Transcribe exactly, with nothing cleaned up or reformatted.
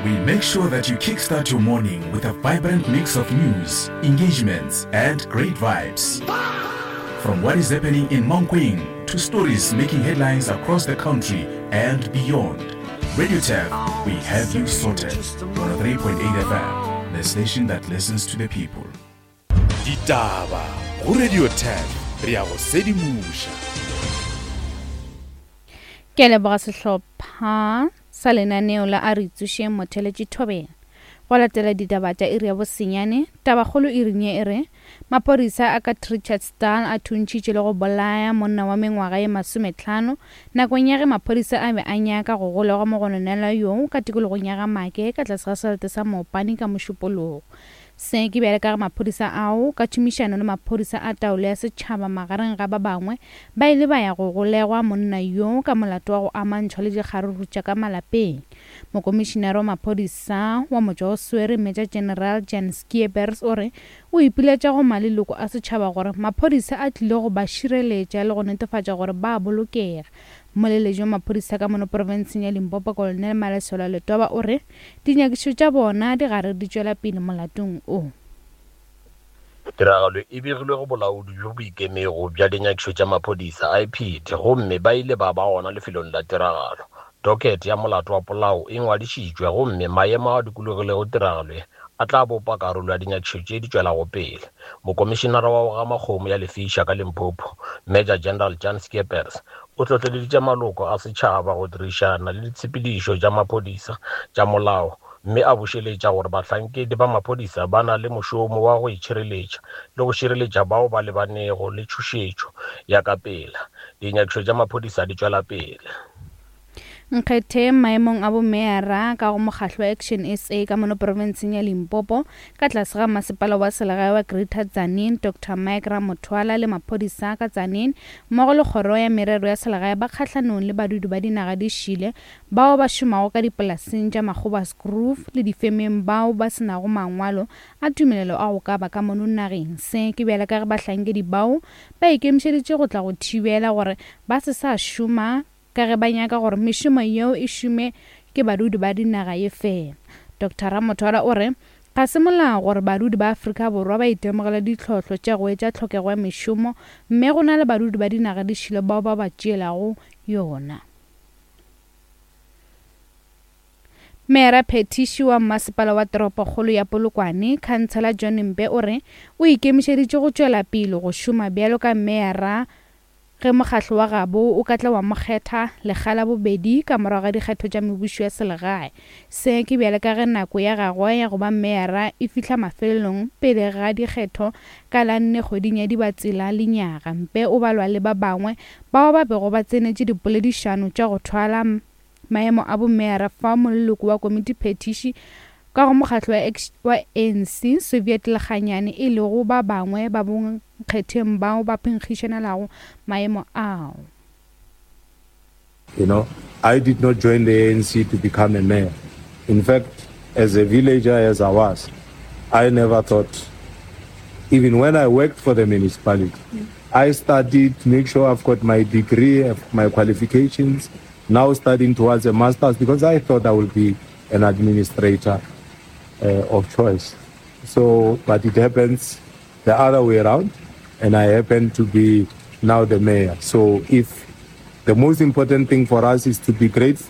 We make sure that you kickstart your morning with a vibrant mix of news, engagements, and great vibes. From what is happening in Mankweng to stories making headlines across the country and beyond. Radio Turf, we have you sorted. one oh three point eight F M, the station that listens to the people. Ditaba go Radio Turf, re a go sedimoša. Ke a leboga sehlopha sa lenaneo la A Re Tsošeng Motheletši Thobela. Go latela ditaba tša iri ya bosenyane, tabakgolo iring ye e re maphodisa a ka Trichardsdal a thuntšhitše le go bolaya monna wa mengwaga ye masometlhano nakong ya ge maphodisa a be a nyaka go golegwa mogononelwa yoo ka tikologong ya ga Make ka tlase ga selete sa Mopani ka Mošupologo. Se ke bjale ka ge maphodisa ao ka tšhomišano le maphodisa a taolo ya setšhaba magareng ga ba bangwe ba ile ba ya go golegwa monna yoo ka molato wa go amantšhwa le dikgaruru tša ka malapeng. Mokomišinare wa maphodisa wa motšwaoswere, Major General Jan Schiepers, o re o ipiletša go maleloko a setšhaba gore maphodisa a tlile go ba šireletša le go netefatša gore ba bolokega. Mmoleletši wa maphodisa ka mono profenseng ya Limpopo, Colonel Malesela Letoba, o re dinyakišišo tša bona di gare di tšwela pele molatong o. Tiragalo e begilwe go bolaodi bjo bo ikemego bja dinyakišišo tša maphodisa, I P D, gomme ba ile ba ba gona lefelong la tiragalo. Docket ya molato wa polao e ngwadišitšwe gomme maemo a dikologilego tiragalo ye a tla bopa karolo ya dinyakišišo tše di tšwelago pele. Mokomišinara wa go gama kgomo ya lefiša ka Limpopo, Major General Jan Schiepers, o hlohleleditše maloko a setšhaba go dirišana le ditshepedišo tša maphodisa tša molao mme a bušeletša gore bahlankedi ba maphodisa ba na le mošomo wa go itšhireletša le go šireletša bao ba lebanego le tšhošetšo ya ka pela. Dinyakišišo tša maphodisa di tšwela pele. Nkgetheng maemong a bomeyara ka go mokgahlo wa Action S A ka mono profenseng ya Limpopo ka tlase ga masepala wa selegae wa Greater Tzaneen, Doctor Mike Ramothwala, le maphodisa ka Tzaneen mmogo le kgoro ya merero ya selegae ba kgahlanong le badudi ba dinaga di šile bao ba šomago ka dipolaseng tša Magoebaskloof le difemeng bao ba senago mangwalo a tumelelo a go ka ba ka mono nageng. Se ke bjale ka ge bahlankedi bao ba ikemišeditše go tla go thibela gore ba se sa šoma ka ge ba nyaka gore mešomo yeo e šome ke badudi ba dinaga ye fela. Doctor Ramothwala o re ga se molao gore badudi ba Afrika Borwa ba itemogele ditlhohlo tša go etša tlhokego ya mešomo mme go na le badudi ba dinaga di šile bao ba ba tšeelago yona. Meyara phethiši wa masepala wa toropokgolo ya Polokwane, Khansela John Mpe, o re o ikemišeditše go tšwela pele go šoma bjalo ka meyara ge mokgahlo wa gabo o ka tla wa mo kgetha lekga la bobedi ka morago ga dikgetho tša mebušo ya selegae. Se ke bjale ka ge nako ya gagwe ya go ba meyara e fihla mafelelong pele ga dikgetho ka la nne kgweding ya Dibatsela lenyaga. Mpe o balwa le ba bangwe bao ba bego ba tsenetše dipoledišano tša go thwala maemo a bomeyara fao moleloko wa komiti phethiši ka go mokgahlo wa A N C, Soviet Lekganyane, e lego ba bangwe ba bonkgetheng bao ba phenkgišanelago maemo ao. You know, I did not join the A N C to become a mayor. In fact, as a villager as I was, I never thought, even when I worked for the municipality, I studied, make sure I've got my degree, my qualifications, now studying towards a master's because I thought I would be an administrator uh, of choice. So, but it happens the other way around, and I happen to be now the mayor. So if the most important thing for us is to be grateful.